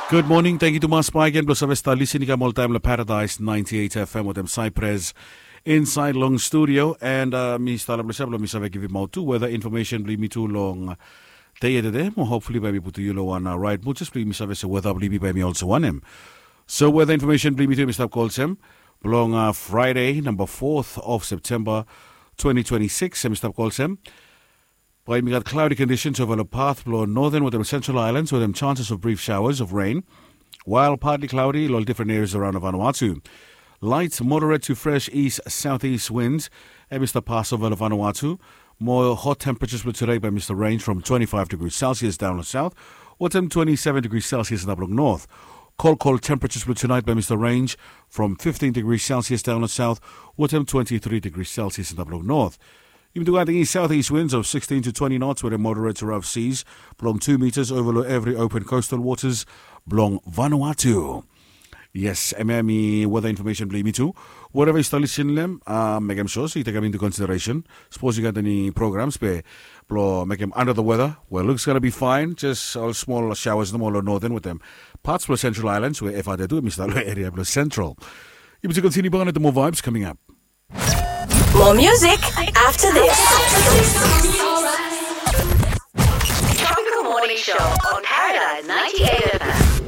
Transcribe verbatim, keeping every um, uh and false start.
Good morning, thank you tumas baigen blong save stap lisin i kam oltaem long Paradise ninety-eight F M wetem Cypress inside long studio. And uh, mi stap long ples ya blong mi save givimaot tu weather information blong yumi tu long dei ya tede. Mo hopefully bae mi putum yu long wan uh, right mood, jes blong yumi save se weather blong yumi bae mi olsem wanem. So weather information blong yumi tu mi stap go olsem blong uh, Friday number fourth of September twenty twenty-six, mi stap go olsem. Bae yumi gat cloudy conditions ova long path blong Northern wetem Central Islands wetem chances of brief showers of rain, while partly cloudy long different areas around Vanuatu. Light moderate to fresh east southeast winds hemi stap pas ova long Vanuatu. Mo hot temperatures blong today bae mi stap range from twenty-five degrees Celsius down long south wetem twenty-seven degrees Celsius and up long north. Cold, cold temperatures blong tonight bae mi stap range from fifteen degrees Celsius down long south wetem twenty-three degrees Celsius and up long north. Yumi tu gat the southeast winds of sixteen to twenty knots with a moderate to rough seas blong two meters over long every open coastal waters blong Vanuatu. Yes, hemia hemi weather information blong yumi tu. Whatever yu stap lisin long hem, uh, mekem sure se yu tekem into consideration. Sapos yu gat eni programs be blong mekem under the weather, well, looks gonna be fine. Just ol small showers nomo long Northern wetem parts blong Central Islands we efa de tu hemi stap long area blong Central. Yumi tu kontiniu bak long more vibes coming up. More music after this. Tropical Morning Show on Paradise ninety-eight F M.